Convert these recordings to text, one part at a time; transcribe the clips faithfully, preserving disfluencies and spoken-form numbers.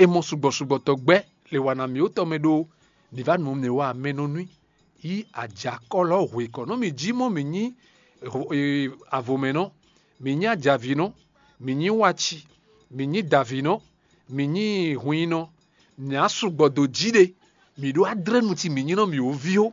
E mɔ sugbɔ sugbɔ tɔgbɛ́ le wa na mǐ ó tɔ mɛ ɖó mǐ va nɔ mǐ wa mɛ nɔ nú yí ajakɔ́lɔ hwekɔ nɔ mǐ jí mɔ mǐ nyí avomɛnɔ, mǐ nyí ajavinɔ, mǐ nyí waci, mǐ nyí dǎvinɔ, mǐ nyí hwinnɔ, mǐ á sugbɔ dó jí ɖe, mǐ ɖó adrɛ́nu ci mǐ nyí nɔ mǐ ó ví ó.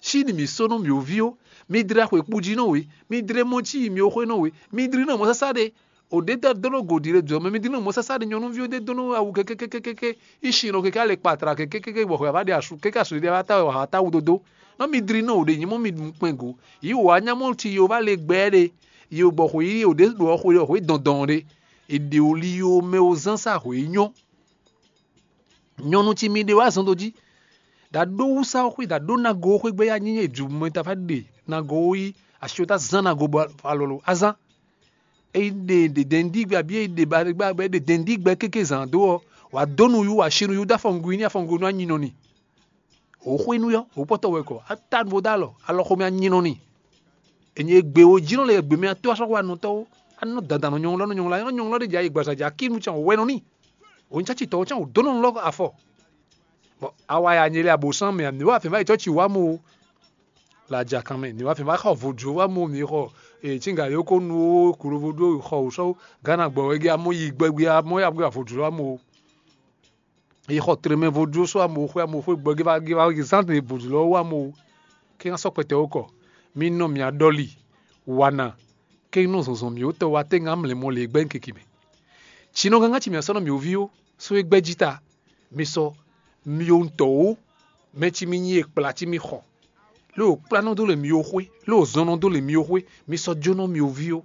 Cí ni mǐ só nú mǐ ó ví ó, mi dlɛ́ xwekpú jí nɔ wě, mi dlɛ́ mɔ cí mǐ ó xwé nɔ wě, mi dlí nɔ mɔ̌ sásá ɖe. O ɖě dó ɖo gǒ ɖi ɖe jɔ mɛ, mi dlí nɔ mɔ̌ sásá ɖe nyɔ̌nuví ó ɖe dó nú awu kɛkɛkɛkɛkɛ, í sin nɔ kɛkɛ alɛ kpatra kɛkɛkɛkɛ bɔ xwɛ vǎ ɖe asu kɛkɛ asu ɖe vǎ ta wɛ wǎ ta wú dódó. Nɔ mi dlí nɔ o ɖe nyí mɔ mi ɖu kpɛn gǒ, yǐ wǎ nya mɔ ci yo vá le gbɛ ɖe, yi o gbɔ xwě yi o ɖě ɖo ɔ xwe ɔ xwě dɔndɔn ɖe. È ɖe o li yo mɛ o zán sá xwě nyɔ́. Nyɔnu ci mi ɖe wá zɔn dó jí, ɖa ɖó wúsá xwé, ɖa ɖó nago xwé gbé ya nyí ju mɛ ta fá ɖe nago wó yí asi tá zán nago bɔ alɔ lo azán. Eyi ɖe ɖe dɛndígbɛ abí eyi ɖe ba ɖe gbá bɛ ɖe dɛndígbɛ kéké zán dó ɔ, wà dó nu yú wà si nu yú dó afɔngun ní afɔngun nú anyinɔ ni. Wò xwé nú yɔ wò kpɔtɔ wɛ kɔ ata bo dó alɔ alɔ xomɛ anyinɔ ni. Enyi egbe wo jínɔ le egbe mɛ ató asɔxɔ anɔtɔwo anɔ dandan nɔ nyɔŋlɔ nɔ nyɔŋlɔ anɔ nyɔŋlɔ ɖe dza yi gbaza dza kí nu can wɛ nɔ ni. Wò nyí tsɔtsi tɔwo can wò dó nɔ lɔ afɔ. Bɔ awa ya nyele abosán mɛ amì wá fɛn va yi tsɔtsi wá mo. La dza kan mɛ ni wá fɛn va xɔ vodro wá mo mi xɔ. Ee tsinga yo ko nu wo kurovo ɖo xɔ wò sɔ gánà gbɔ wɛ gé amɔ yi gbɛgbɛ amɔ ya gbé vodro wá mo. Yi xɔ tremɛ vodro sɔ amɔ xwe amɔ xwe gbɔ gé va gé va zán te vodro lɔ wá mo. Kí ŋá sɔ kpɛtɛ wó kɔ mi nɔ mi aɖɔli wana kí nɔ zɔnzɔn mi wó tɔ wá té ŋá mlɛ mɔ lě gbɛ́ kiki mɛ. Tsinɔ gángan ci mi asɔ́ nɔ mi wò ví ó só é gbɛ́ jí ta. Mi sɔ mi yo ŋutɔ wó mɛ ci mi nyi e kplá ci mi xɔ. Lé wò kplá nɔ dó le mi yo xwé lé wò zɔn nɔ dó le mi yo xwé. Mi sɔ jó nɔ mi wò ví ó.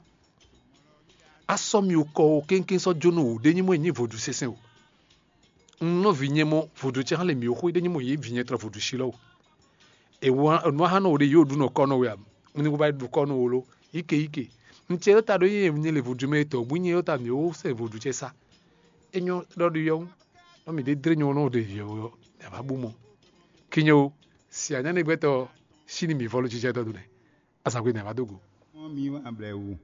Asɔ mi wò kɔ o kéŋkéŋ sɔ jó nɔ wò ɖé nyí mɔ e nyí vodú sɛsɛn o. Un nɔ vǐ nyɛ mɔ vodú cɛ hã le mi yo xwé ɖé nyí mɔ yě vǐ nyɛ tlɔ vodú sí lɔ o. Èwɔ nǔ ahan nɔ wò ɖe yóò ɖu nɔ kɔ nɔ wɛ a? Un ní kó va ɖu kɔ nɔ wò lo. Yíke yíke. Un cɛ ɖó ta ɖó nyɛ nyɛ le vodú mɛ tɔ bú nyɛ ɖó ta mǐ ó sɛ vodú cɛ sá. É nyɔ́ ɖɔ ɖo yɔ́ nɔ mǐ ɖé dlé nyɔ́ nɔ ɖe yɔ́ yɔ́ mǐ a va bú mɔ. Kinyo si anyánigbɛ́tɔ́ sí ni mǐ vɔ́ ló jijɛ dɔdun nɛ. Azǎn gbe mǐ a va dó go. Mɔ mi wá blɛ wú.